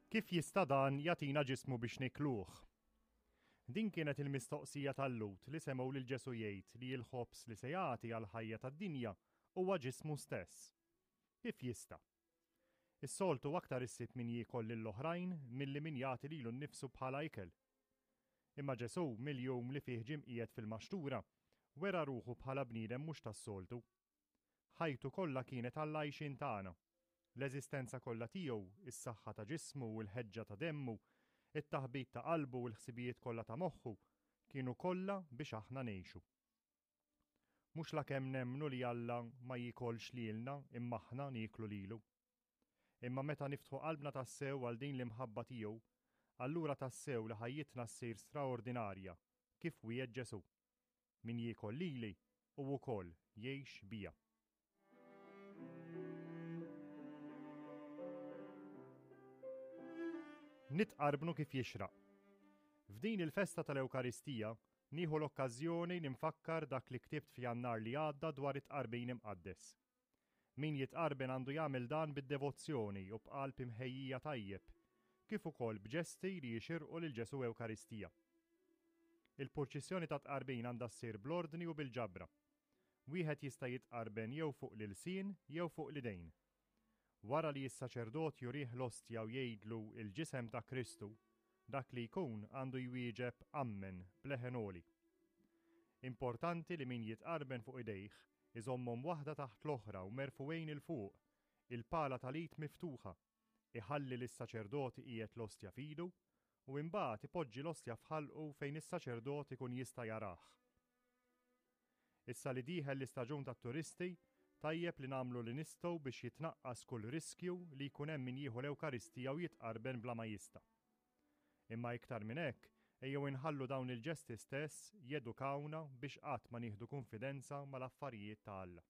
Kif jista' dan jagħtina ġismu biex nikluh? Din kienet il-mistoqsija tal-Lhud li semgħu lil Ġesù jgħid li l-ħobż li se jagħti għall-ħajja tad-dinja huwa ġismu stess. Kif jista'? Is-soltu aktar issib min jiekol lill-oħrajn milli min jagħti lilu nnifsu bħala ikel. Imma Ġesù, mill-jum li fih ġie mqiegħed fil-maxtura, wera ruħu bħala bniedem mhux tas-soltu. Ħajtu kollha kienet għall-għajxien tagħna. L-eżistenza kollha tiegħu, is-saħħa ta' ġismu u l-ħeġġa ta' demmu, it-taħbit ta' qalbu u l-ħsibijiet kollha ta' moħħu, kienu kollha biex aħna ngħixu. Mhux lakemm nemmnu li Alla ma jiekolx lilna imma aħna nieklu lilu. Imma meta niftħu qalbna tassew għal din l-imħabba tiegħu, allura tassew li ħajjitna ssir straordinarja, kif wiegħed Ġesù. Min jiekol lili, hu wkoll jgħix bija. Nitqarbnu kif jixraq. F'din il-festa tal-Ewkaristija nieħu l-okkażjoni li nfakkar dak li ktibt f'Jannar li għadda dwar it-tqarbin imqaddes. Min jitqarben għandu jagħmel dan bid-devozzjoni u b'qalb imħejjija tajjeb, kif ukoll b'ġesti li jixirqu lil Ġesù Ewkaristija. Il-purċissjoni tat-tqarbin għandha ssir bl-ordni u bil-ġabra. Wieħed jista' jitqarben jew fuq l-ilsien jew fuq l-idejn. Wara li s-saċerdot jurih l-ostja u jgħidlu il-ġisem ta' Kristu, dak li jkun għandu jwieġeb Ammen b'leħen għoli. Importanti li min jitqarben fuq idejh Iżommhom waħda taħt l-oħra u merfugħin 'il fuq, il-pala tal-id miftuħa. Iħalli lis-saċerdot iqiegħed l-ostja f'idu, u imbagħad ipoġġi l-ostja f'ħalqu fejn is-saċerdot ikun jista' jarah. Issa li dieħel l-istaġun tat-turisti, tajjeb li nagħmlu li nistgħu biex jitnaqqas kull riskju li jkun hemm min jieħu l-Ewkaristija u jitqarben bla ma jista'. Imma iktar minn hekk, ejjew inħallu dawn il-ġesti stess jedukawna biex qatt ma nieħdu kunfidenza mal-affarijiet ta' Alla.